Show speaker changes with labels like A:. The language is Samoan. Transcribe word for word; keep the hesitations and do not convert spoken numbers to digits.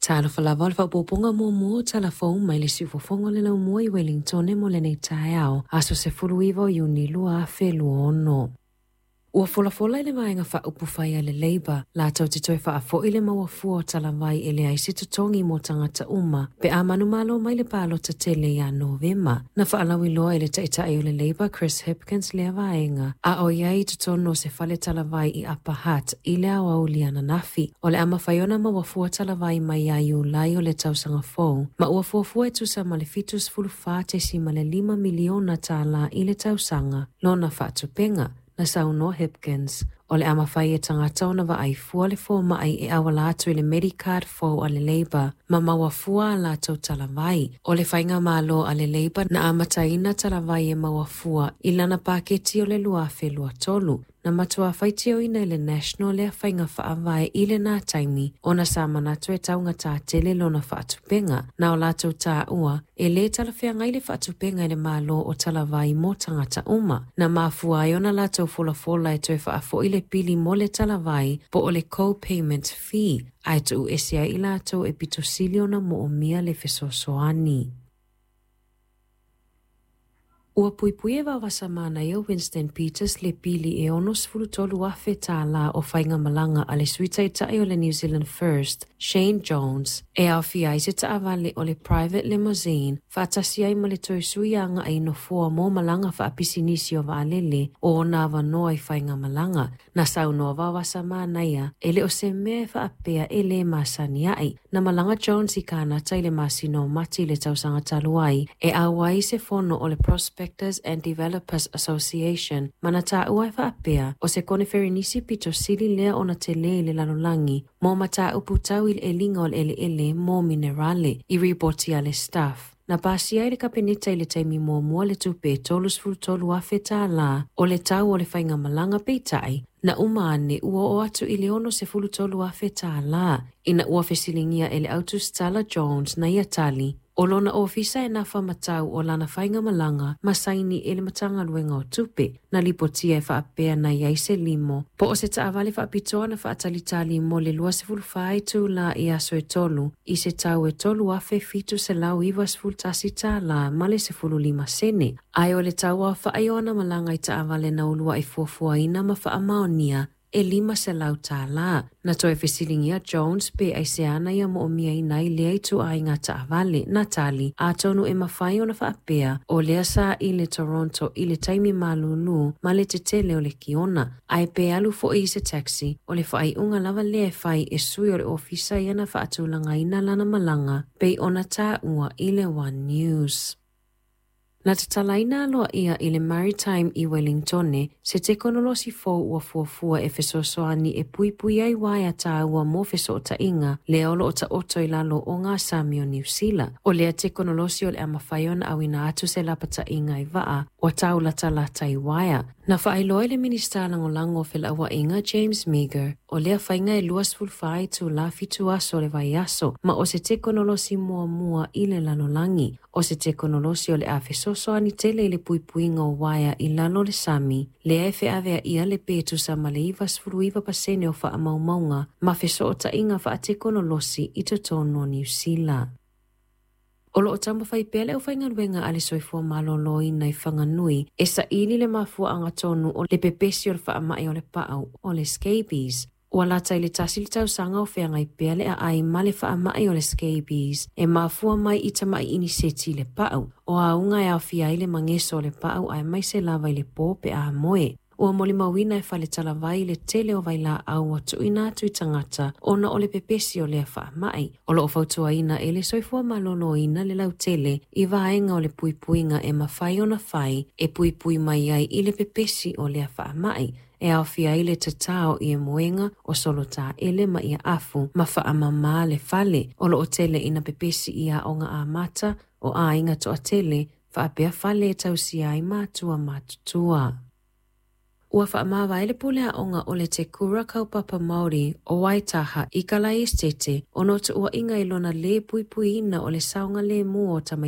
A: Talofa lava o le faaopoopoga muamua o Tala Fou mai le siufofoga o le laumua i Wellingtone mo lenei taeao, aso sefuluiva o Iuni lua afe lua ono. Ua folafola i le vaega faaupufai a le Labour latou te toe faafo'i le maua fua o talavai e leai se totogi mo tagata uma pe a manumalo mai le palota tele ia Novema. Na faalauiloa e le taitai o le Labour Chris Hipkins lea vaega a o i ai i totonu o se fale talavai i Upper Hutt i le aoauli ananafi. O le a mafai ona maua fua talavai mai ia Iulai o le tausaga fou, ma ua fuafua e tusa ma le fitu sefulu fa tesima le lima miliona tālā i le tausaga lona faatupega. Na saunoa Hipkins, o le a mafai e tagata ona vaai fua le foma'i e auala atu i le Medicard fou a le Labour ma maua fua a latou talavai. O le faigamalo a le Labour na amataina talavai e maua fua i lana paketi o le lua afe lua tolu. Na matua faitioina e le National lea faiga faavae i lena taimi ona sa manatu e taugatā tele lona faatupega. Na o latou taua e lē talafeagai le faatupeina e le Malo o talavai mo tagata uma. Na mafua ai ona latou folafola e toe faafo'i le pili mo le talavai po o le co-payment fee ae tuu ese ai i latou e pito sili ona moomia le fesoasoani. Ua puipui e vaovasamanaia Winston Peters le pili e ono sefulu tolu afe tālā o faigamalaga a le sui taitai o le New Zealand First, Shane Jones, e aofia ai se taavale o le private limousine faatasi ai ma le toe sui aga'i i nofoa mo malaga faapisinisi o vaalele o ona avanoa i faigamalaga. Na saunoa Vaovasamanaia e le o se mea e faapea e lē masani a'i. Na malaga Jones i Kanata i le masina o Mati i le tausaga talu ai e auai se fono o le Prospectors and Developers Association ma na taua e faapea o se koneferenisi pito sili lea ona telē i le lalolagi mo mataupu tau i le eliga o le eleele mo minerale i ripoti a le Stuff. Na pasia ai le kapeneta i le taimi muamua le tupe e tolu sefulu tolu afe tālā o le tau o le faigamalaga, peitai na uma ane ua oo atu i le ono sefulu tolu afe tālā. Ina ua fesiligia e le autusitala Jones na ia tali, o lona ofisa e nafa matau o lana faigamalaga ma saini e le Matagaluega o Tupe. Na lipotia e faapea na i ai se limo po o se taavale faapitoa na faatalitali mo le lua sefulu fa itulā i aso e tolu i se tau e tolu afe fitu selau iva sefulu tasi tālā ma le sefulu lima sene. Ae o le tau aofa'i o ana malaga i taavale na ulua'i fuafuaina ma faamaonia e lima selau tālā. Na toe fesiligia Jones pe aisea na ia moomiaina ai lea ituaiga taavale. Na tali, atonu e mafai ona faapea o lea sa i le Toronto i le taimi malūlū ma le tetele o le kiona, ae pe alu fo'i i se taxi, o le faaiuga lava lea e fai e sui o le ofisa ia na faatulagaina lana malaga pei ona taua i le One News. Na tatalaina aloaia i le Maritime i Wellingtone se tekonolosi fou ua fuafua e fesoasoani e puipui ai uaea taua mo fesootaiga lea o loo taoto i lalo o gasami o Niu Sila. O lea tekonolosi o le a mafai ona auina atu se lapataiga i vaa ua taulatalata i uaea. Na faailoa e le Minisita Lagolago o Felauaiga James Meager, o lea faiga e lua sefulu fa itulā fitu aso o le vaiaso ma o se tekonolosi muamua i le lalolagi. O se tekonolosi o le a fesoasoani tele i le puipuiga o uaea i lalo o le sami, lea e feaveaia le pe tusa ma le iva sefulu iva pasene o faamaumauga ma fesootaiga faatekonolosi i totonu o Niu Sila. O loo taumafai pea le aufaigaluega a le Soifua Maloloina i Whanganui e saili le mafuaaga tonu o le pepesi o le faamai o le paau o le scabies. Ua lata i le tasi le tausaga o feagai pea le aai ma le faamai o le scabies e mafua mai i tama'i iniseti i le paau. O auga e aofia ai le mageso o le paau aemaise lava i le pō pe a moe. Ua molimauina e fale talavai le tele o vailaau ua tuuina atu i tagata ona o le pepesi o lea faamai. O loo fautuaina e le Soifua Maloloina le lautele i vaega o le puipuiga e mafai ona fai e puipui mai ai i le pepesi o lea faamai, e aofia ai le tatao i moega o solotaele ma ia afu ma faamamā le fale. O loo tele ina pepesi i aoga amata o aiga toatele faapea fale e tausia ai matua matutua. Ua faamavae le pule aoga o le Te Kura Kaupapa Māori o Waitaha i Kalaesetete ona o tuuaiga i lona lē puipuiina o le saogalēmū o tamaiti.